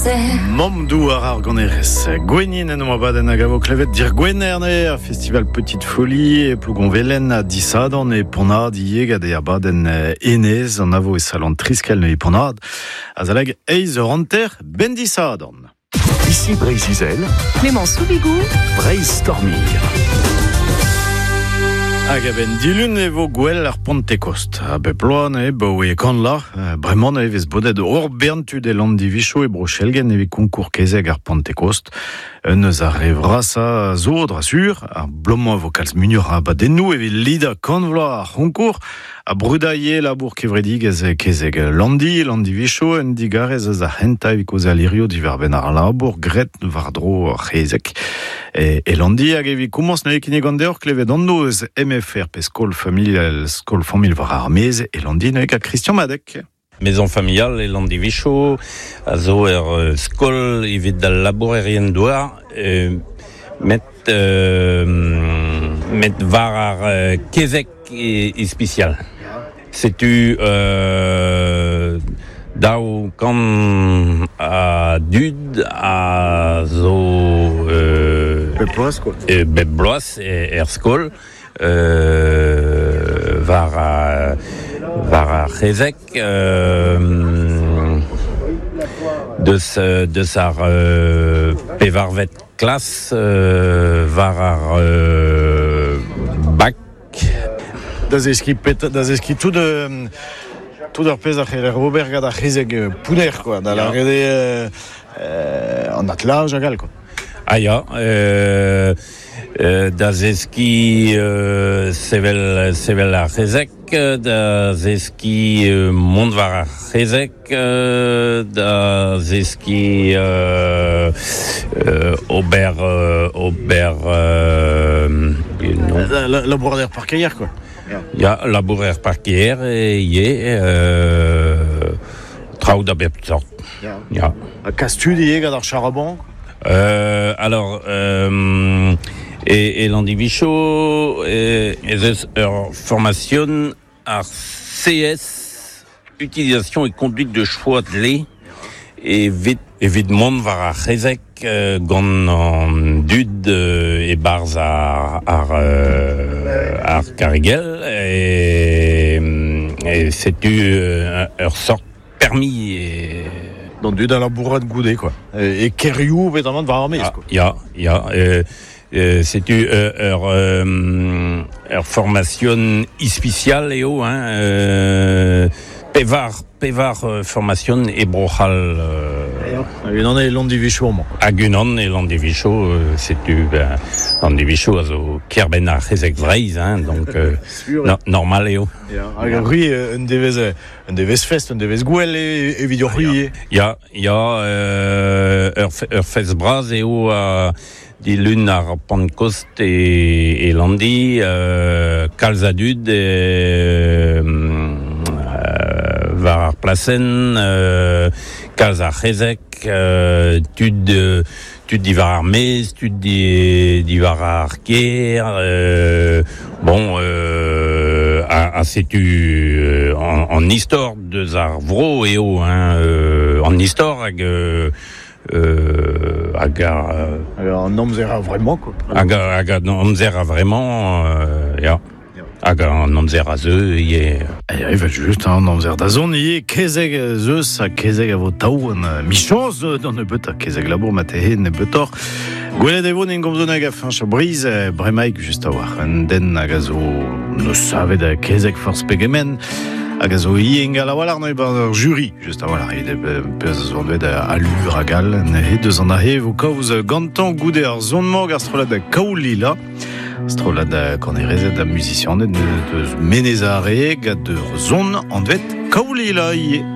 amzer. Mamm douar ar ganerez Gwennyn en abadenn hag a vo klevet dir Gwener ne ar festival Petite Folie e Plougonvelen ha Disadorn e Ponnad ivez gant e abadenn Enez an avo e salon Triskel e Ponnad azaleg eizh eur hanter ben Disadorn. Ici Breizh-Izel, Clément Soubigou, Breizh Storming. Hag a-benn dilun e vo gwell ar Pentekost. A bep bloaz ne baoe kanla. Bremañ e vez bodet ur bern tud e Landivicho e Bro-Chelgen evit konkour kezeg ar Pentekost. Un eus ar re vrasañ zo, dra sur. Ar bloaz-mañ e vo kalz muioc'h a abadennoù evit lidañ kant vloaz ar c'honkour. Ha brudañ ivez labour kevredigezh kezeg Landi, Landivicho, un digarez eus ar c'hentañ evit kaozeal hirio diwar-benn ar labour graet war-dro ar c'hezeg. E, e Landi hag evit komañs neuze kinnigan deoc'h klevet anv eus MFR pe skol familial skol familh war ar maez e Landi neuze gant Christian Madec. Maison familiale e Landivicho a zo ur skol evit al labourerien douar met met war ar kezeg ispisial. Setu 200 a dud a zo Bep bloaz quoi. Bep bloaz er skol war war ar c'hezeg deus deus ar pevarvet klas war ar bak. Da zeskiñ pet, da zeskiñ tout tout ar pezh a c'heller ober gant ar c'hezeg pounner quoi, da lâret eo an atlaj hag all quoi. Ah ya, da zeskiñ sevel sevel ar c'hezeg, da zeskiñ mont war ar c'hezeg, da zeskiñ ober ober Labourat er parkeier quoi. Ya, labourer er parkeier ivez, traoù da bep sort. Ya. Ha kas tud ivez gant ar charaban. Alors, e, e Landivicho ez eus ur formation ar CS, utilisation et conduite de chevaux attelés, evit, evit mont war ar c'hezeg gant an dud e-barzh ar, ar, ar karrigell, e, e setu ur sort permis. D'an dud a labourat goude, quoi. E, e kêrioù petamant war ar maez, quoi. Ya, ya. Setu ur, ur formation ispisial eo, hein, pevar, pevar formation e Bro-C'hall. Hag unan e Landivicho amañ. Hag unan e Landivicho, setu ben, Landivicho a zo kêr-benn ar c'hezeg Vreizh, hein, donc no, normal eo. Ya, hag ur ri un devezh Un devezh fest, un devezh gouel evit hoc'h ivez. Ya, ya, ur, ur fest bras eo dilun ar Pentekost e, e Landi, kalz a dud war ar plasenn, kalz a c'hezeg, tud tud diwar ar maez, tud diwar ar gêr, bon, ha setu an istor deus ar vro eo, hein, an istor hag hag ar... An amzer a-vremañ, quoi. Hag, hag an amzer a-vremañ, ya. Hag an amzer a zeu ivez. Ya, evel-just, an amzer da zont ivez. Kezeg ez eus ha kezeg a vo tav an michañs d'an nebeutañ. Kezeg labour marteze nebeutoc'h. Gwelet e vo n'en gomzo nag a Fañch Briz bremaik just a-walc'h. Un den hag a zo neus savet kezeg forzh pegement hag a zo ivez ingal a-walc'h neuze 'barzh ur jury just a-walc'h evit pezh a zo anvet allure hag all. Neuze deus an aze e vo kaoz gantañ goude ar son-mañ gant ar strollad Kaolila. Strollad kanerezed ha muzisianed deus Menez Are gant ur son anvet Kaolila ivez.